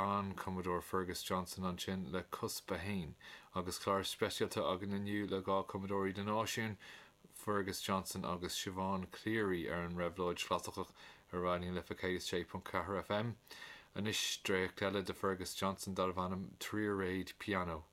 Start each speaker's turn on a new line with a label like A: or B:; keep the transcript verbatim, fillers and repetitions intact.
A: An cumadóir Fergus Johnson ansin le Cuspa Hain agus clár speisialta againn inniu le dhá cumadóir idirnáisiúnta Fergus Johnson agus Siobhán Cleary ar an Réabhlóid Chlasaiceach ar Raidió na Life céad sé ponc ceathair FM. Anois dréacht eile de Fergus Johnson darbh ainm Tríréad Piano.